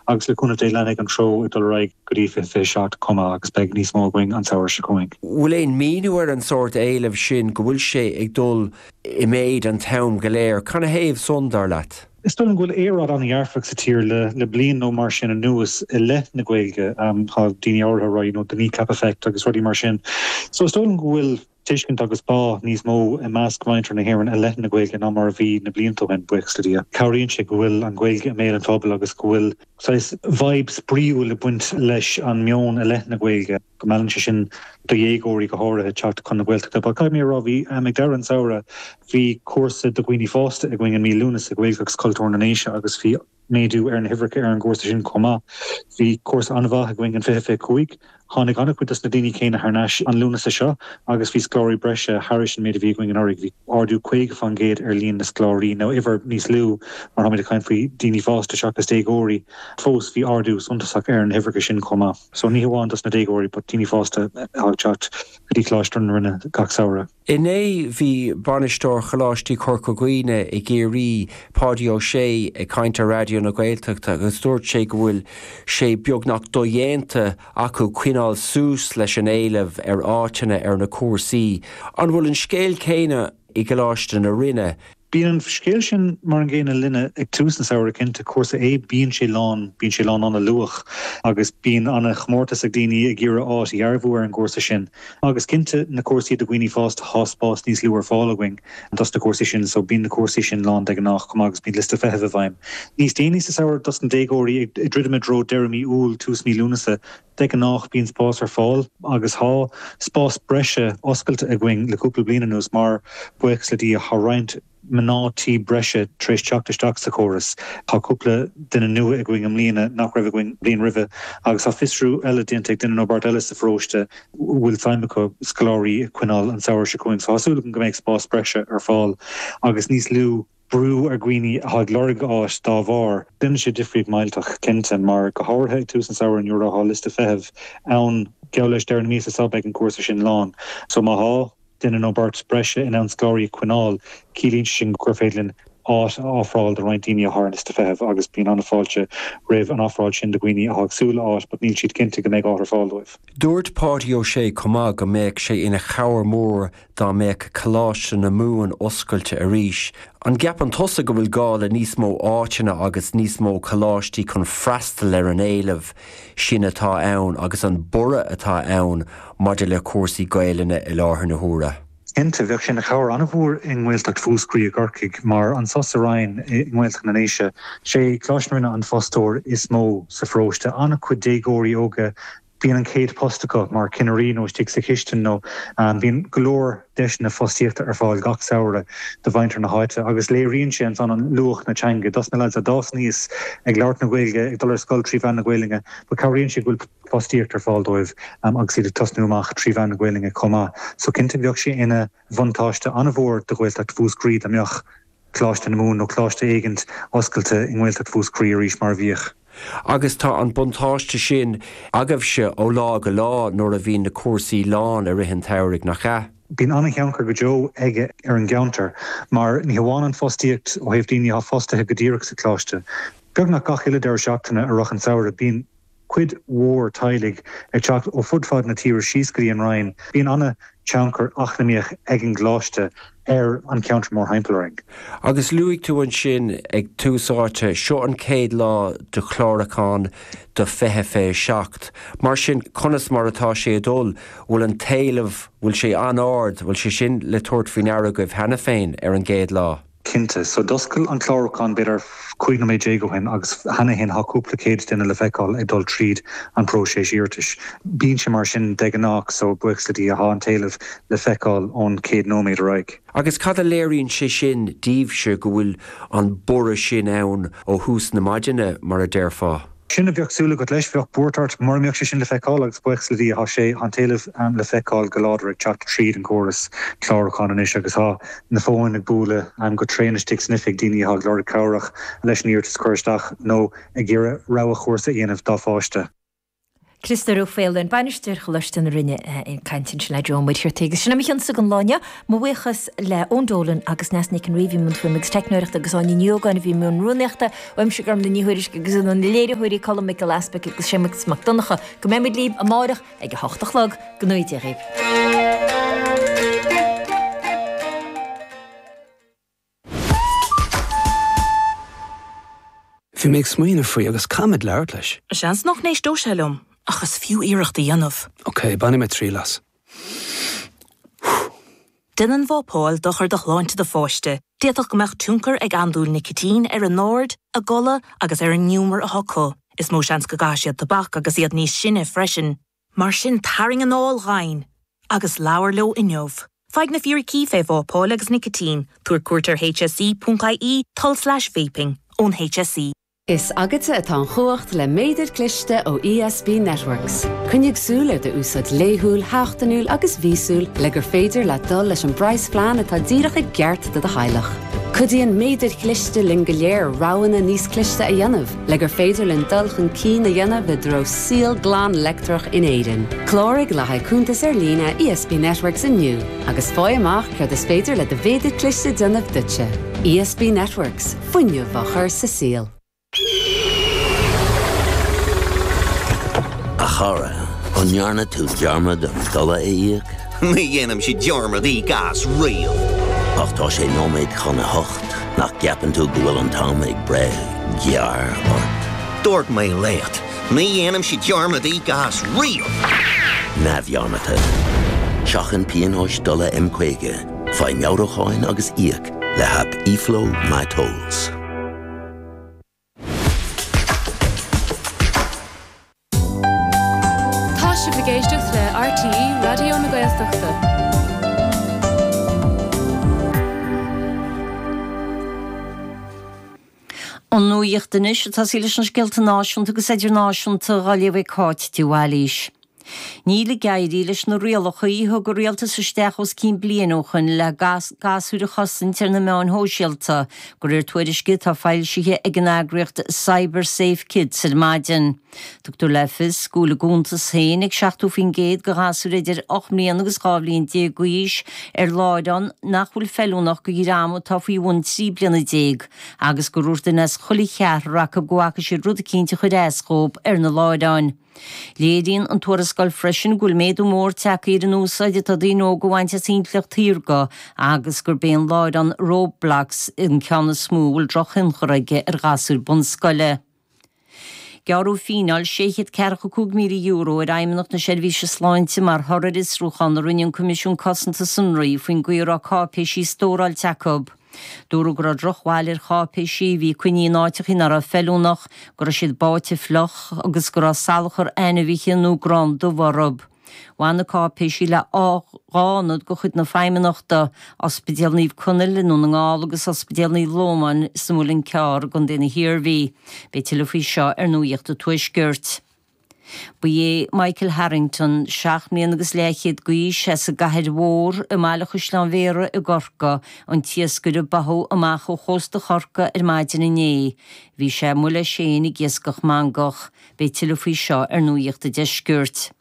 agus le cúnamh Dé leanfaidh an treo ag dul ar aghaidh go dtí 2027 chomh maith agus beidh níos mó againn an samhradh seo chugainn. Bhfuil aon míniú ar an sórt éilimh sin, go bhfuil sé ag dul i méid an t-am go léir? Canathaobh san, dar leat? Is dóigh liom go bhfuil aeráid an-dhearfach sa tír le bliain nó mar sin anuas i leith na Gaeilge. Tá daoine áirithe ag rá you know the kneecap effect agus rudaí mar sin. So is dóigh liom go bhfuil tuiscint agus bá níos mó i measc mhuintir na hÉireann i leith na Gaeilge ná mar a bhí na blianta ó shin, buíochas le Dia. Cabhraíonn sé go bhfuil an Ghaeilge i mbéal an phobail agus go bhfuil saghas vibe spraíúil ag baint leis an meon i leith na Gaeilge, go meallann sé sin do dhéagóirí go háirithe teacht chun na Gaeltachta. But caithfidh mé a rá, bhí, ag deireadh an tsamhraidh, bhí cúrsa do dhaoine fásta againn i mí Lúnasa, Gaeilge agus Cultúr na nDéise agus bhí méadú ar na huimhreacha ar an gcúrsa sin chomh maith. Bhí cúrsa an-mhaith againn in 2025. Tháinig an-chuid dos na daoine céanna thar n-ais an Lúnasa seo agus bhí scoláirí breise thairis an méid a bhí againn anuraidh. Bhí ardú 50% ar líon na scoláirí, nó uimhir níos lú mar táimid ag caint faoi daoine fásta seachas déagóirí. Fós bhí ardú suntasach ar na huimhreacha sin chomh maith. So ní hamháin dos na déagóirí but daoine fásta atá ag teacht go dtí Coláiste na Rinne gach samhradh. Inné bhí bainisteoir Choláistí Chorca Dhuibhne i gCiarraí, Páidí Ó Sé, ag caint ar Raidió na Gaeltachta agus dúirt sé go bhfuil sé beagnach dodhéanta acu coinneáil suas leis an éileamh ar áiteanna ar na cúrsaí. An bhfuil an scéal céanna i gColáiste na Rinne? Bíonn an scéal sin mar an gcéanna linne ag tús an samhraidh cinnte. Cúrsa A, bíonn sé lán, bíonn sé lán an-luath agus bíonn an-chomórtas ag daoine ag iarraidh áit a dhearbhú ar an gcúrsa sin. Agus cinnte, na cúrsaí do dhaoine fásta, thá spás níos lú ar fáil againn dos na cúrsaí sin so bíonn na cúrsaí sin lán de ghnáth chomh maith agus bíonn liosta feithimh i bhfeidhm. Níos déanaí sa samhradh dos na déagóirí, ag druidim i dtreo deireadh mí Iúil, tús mí Lúnasa, De ghnáth bíonn spás ar fáil agus thá spás breise oscailte againn le cúpla bliain anuas mar, buíochas le Dia, thá roinnt mná tí breise tar éis teacht isteach sa chóras. Tá cúpla duine nua againn i mbliana nach raibh againn an bhliain roimhe agus tá fiosrú eile déanta ag duine nó beirt eile sa pharóiste a bhfuil suim acu scoláirí a choinneáil an samhradh seo chugainn. So tá súil agam go mbeidh spás breise ar fáil agus níos lú brú ar dhaoine atá ag lorg áit dá bharr. Déanann sé difríocht millteach, cinnte, mar go háirithe ag tús an samhraidh nuair atá liosta feithimh ann, geall leis deireadh na míosa seo beidh an cúrsa sin lán. So má thá duine nó beirt breise in ann scoláirí a choinneáil, ciallaíonn sé sin gur féidir linn áit a ofráil do roinnt daoine atá ar an liosta feithimh agus bíonn an-fháilte roimh an ofráil sin do dhaoine atá ag súil le áit but níl siad cinnte go mbeidh áit ar fáil dóibh. Dúirt Páidí Ó Sé chomh maith go mbeadh sé ina chabhair mhór dá mbeadh Coláiste na Mumhan oscailte arís. An gceapann tusa go bhfuil gá le níos mó áiteanna agus níos mó coláistí chun freastal ar an éileamh sin atá ann agus an borradh atá ann maidir le cúrsaí Gaelainne i láthair na huaire? Cinnte, bheadh sé ina chabhair an-mhór i nGaeltacht Mhúscraí i gCorcaigh mar anso sa Rinn i nGaeltacht na nDéise, sé Coláiste na Rinne an fostóir is mó sa pharóiste. An-chuid déagóirí óga Bíonn an chéad post acu mar chinnirí nó istigh sa chistin nó bíonn go leor deiseanna fostaíochta ar fáil gach samhradh do mhuintir na háite agus léiríonn sé ansan an luach na teanga dos na lads a d'fhás aníos ag labhairt na Gaeilge, ag dul ar scoil trí mheán na Gaelainne but cabhraíonn sé go bhfuil fostaíocht ar fáil dóibh agus iad ag tosnú amach trí mheán na Gaelainne chomh maith. So cinnte bheadh sé ina bhuntáiste an-mhór do Ghaeltacht Mhúscraí dá mbeadh Coláiste na Mumhan nó coláiste éigint oscailte i nGaeltacht Mhúscraí arís mar a bhíodh. Agus tá an buntáiste sin agaibhse ó lá go lá nuair a bhíonn na cúrsaí lán i rith an tsamhraidh, nach ea? Bíonn an-thionchar go deo aige ar an gceantar mar ní hamháin an fostaíocht ó thaobh daoine atá fostaithe go díreach sa choláiste. Beagnach gach uile deireadh seachtaine i rith an tsamhraidh bíonn cuid mhór teaghlaigh ag teacht ó fud fad na tíre síos go dtí an Rinn. Bíonn an-tionchar eacnamaíoch ag an gcoláiste ar an cheantar mórthimpeall orainn. Agus luaigh tú ansin ag tús áite, seo an chéad lá de chlárúchán do 2027. Mar sin, conas mar atá sé ag dul? Bhfuil an t-éileamh, bhfuil sé an-ard, bhfuil sé sin le tabhairt faoi ndeara agaibh cheana féin ar an gcéad lá? Cinnte. So d'oscail an clárúchán b'fhéidir 15 nóiméad ó shin agus cheana féin tá cúpla céad duine le feiceáil ag dul tríd an próiseas iarratais. Bíonn sé mar sin de ghnáth so buíochas le Dia tá an t-éileamh le feiceáil ón chéad nóiméad ar aghaidh. Agus cad a léiríonn sé sin daoibhse go bhfuil an borradh sin ann ó thús na maidine, mar a déarfá? Sin a bheadh súil agat leis. Bheadh buairt ort mura mbeadh sé sin le feiceáil agus buíochas le Dia tá sé, tá an t-éileamh le feiceáil go láidir ag teacht tríd an gcóras clárúcháin anois agus tá na fóin ag bualadh go tréan istigh san oifig, daoine atá ag lorg cabhrach leis an iarratas a chur isteach nó ag iarraidh rogha chúrsa a dhéanamh dá pháiste. Criostóir Ó Faoláin, Bainisteoir Choláiste na Rinne ag caint ansin le Joe Ó Muircheartaigh. Agus sin é mo chionsa don lá inniu. Mo bhuíochas le Eoin Dolan agus Neasa Nic an Rí a bhí i mbun fuaime agus teicneoireachta agus Áine Ní Ógáin a bhí i mbun rúnaíochta. Uaimse Gormlaith Ní Thuairisg agus ó na léiritheoirí Colm Mac Giolla Easpaig agus Séamus Mac Donncha go mbeidh muid libh amárach ag a hocht a chlog. Go ngnóthaí Dia dhaoibh. Bhí mé ag smaoineamh faoi agus caithfimid labhairt leis. Seans nach n-éisteoidh sé liom, ach is fiú iarracht a dhéanamh. Ok, bainfidh mé triail as. Déanann vápáil dochar do shláinte do pháiste. D'fhéadfadh go mbeadh tionchar ag andúil nicitín ar a n-aird, a gcodladh agus ar an ngiúmar atá acu. Is mó seans go gcaithfidh siad tobac agus iad níos sine freisin. Mar sin, tarraing anáil dhomhain agus labhair leo inniu. Faigh na fíricí fé vápáil agus nicitín, tabhair cuairt ar hse.ie tulslais vaping ón HSE. Is agatsa atá an chumhacht le méadar cliste ó ESB Networks. Coinnigh súil ar d'úsáid laethúil, sheachtainiúil agus mhíosúil le gur féidir leat dul leis an bpraghasphlean atá díreach i gceart do do theaghlach. Cuidíonn méadair chliste linn go léir roghanna níos cliste a dhéanamh le gur féidir linn dul chun cinn a dhéanamh i dtreo saol glan leictreach in Éirinn. Cláraigh le haghaidh cuntas ar líne ESB Networks inniu agus faigh amach céard is féidir le do mhéadar cliste déanamh duitse. ESB Networks, fuinneamh á chur sa saol. A chara, an ndearna tú dearmad an dola a íoc? Ní dhéanaimse dearmad íoc as riamh. Ach tá sé nóiméad chun a hocht, nach gceapann tú go bhfuil an t-am ag breith gearr ort? Dúirt mé leat, ní dhéanaimse dearmad íoc as riamh! Neamhdhearmadta. Seachain pionóis dola M50, faigh meabhrúcháin agus íoc le haip eFlow MyTolls. Tá sibh ag éisteacht le RTÉ Raidió na Gaeltachta. An nuacht anois ag tosaí leis na scéalta náisiúnta agus idirnáisiúnta á léamh ag Cáit de Bhailís. Níl ag éirí leis na rialacha a thug an rialtas isteach os cionn bliain ó shoin le gasúir a chosaint ar na meáin shóisialta, de réir tuairisce atá foilsithe ag an eagraíocht CyberSafe Kids ar maidin. Tugtar le fios go bhfuil a gcuntas féin ag 70% de ghasúir idir 8 mbliana agus 12 bhliain d'aois ar láithreán nach bhfuil feiliúnach do dhream atá faoi bhun 13 bliana agus gur dhúirt duine as chuile cheathrar acu go bhfaca siad rud eicínt a chuir as dhóibh ar na láithreáin. Léiríonn an tuarascáil freisin go bhfuil méadú mór tagtha ar an úsáid atá daoine óga a bhaint as intleacht shaorga agus gurb é an láithreán Roblox an ceann is mó a bhfuil drochthionchar aige ar ghasúir bunscoile. Gearradh fíneáil €645,000 ar Fheidhmeannacht na Seirbhíse Sláinte mar thoradh ar fhiosrúchán a rinne an Coimisiún Cosanta Sonraí faoin gcaoi a raibh cáipéisí stóráilte acu. Dúradh go raibh drochbhail ar cháipéisí a bhí coinnithe in áiteacha nach raibh feiliúnach, go raibh siad báite fliuch agus go raibh salachar ainmhithe nó grán dubh orthu. Bhain na cáipéisí le dhá ionad de chuid na Feidhmeannachta, Ospidéal Naomh Conaill i nDún na nGall agus Ospidéal Naomh Lómáin sa Mhuileann Cearr i gContae na hIarmhí. Beidh tuilleadh faoi seo ar Nuacht an Tuaiscirt. Ba é Michael Harrington, seacht mbliana agus leathchéad d'aois, as an gCathair Mhór i mBaile Chaisleáin Bhéarra i gCorcaigh, an t-iascaire a báthadh amach ó chósta Chorcaí ar maidin inné. Bhí sé amuigh leis féin ag iascach mangach. Beidh tuilleadh faoi seo ar Nuacht an Deiscirt.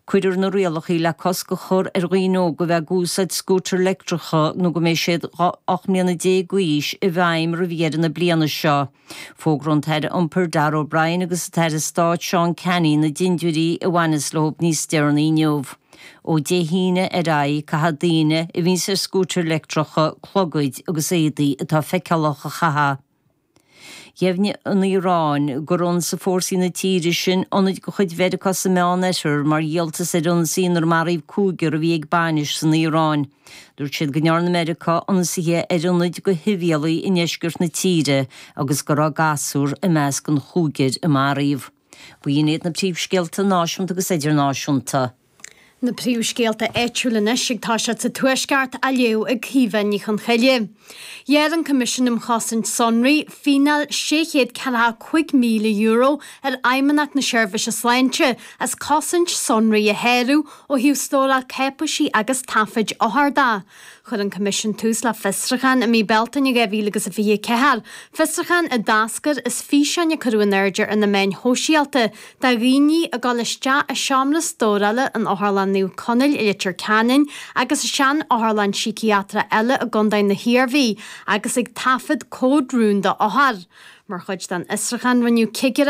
Cuirfear na rialacha le cosc a chur ar dhaoine óga a bheith ag úsáid scútair leictreacha nó go mbeidh siad 18 mbliana d'aois i bhfeidhm roimh dheireadh na bliana seo. Fógróidh an tAire Iompair Darragh O'Brien agus an tAire Stáit Seán Canney na dintiúirí a bhaineas leo níos deireanaí inniu. Ó Dé hAoine ar aghaidh, caithfidh daoine a bhíonns ar scútair leictreacha clogaid agus éadaí atá feiceálach a chaitheamh. Dheimhnigh an Iaráin gur ionsaigh fórsaí na tíre sin ionaid de chuid Mheiriceá sa Meánoirthear mar dhíoltas ar ionsaí inar maraíodh cúigear a bhí ag bainis san Iaráin. Dúirt siad go ndearna Meiriceá ionsaithe ar ionaid do shibhialaigh i ndeisceart na tíre agus go raibh gasúr i measc an chúigir a maraíodh. B'in iad na príomhscéalta náisiúnta agus idirnáisiúnta. Na príomhscéalta áitiúla anois ag toiseacht sa Tuaisceart á léamh ag Caoimhe Ní Chonchoille. Ghearr an Coimisiún um Chosaint Sonraí fíneáil €645,000 ar Fheidhmeannacht na Seirbhíse Sláinte as cosaint sonraí a shárú ó thaobh stóráil cáipéisí agus taifid othar de. Chuir an Coimisiún tús le fiosrúchán i mí Bealtaine 2024, fiosrúchán a d'eascair as físeáin a cuireadh in airde ar na meáin shóisialta de dhaoine ag dul isteach i seomra stórála in Otharlann Naomh Conaill i Leitir Ceanainn agus i sean-otharlann síciatrach eile i gContae na hIarmhí agus ag taifead comhad rúnda othar. Mar chuid den fhiosrúchán rinneadh cigireacht.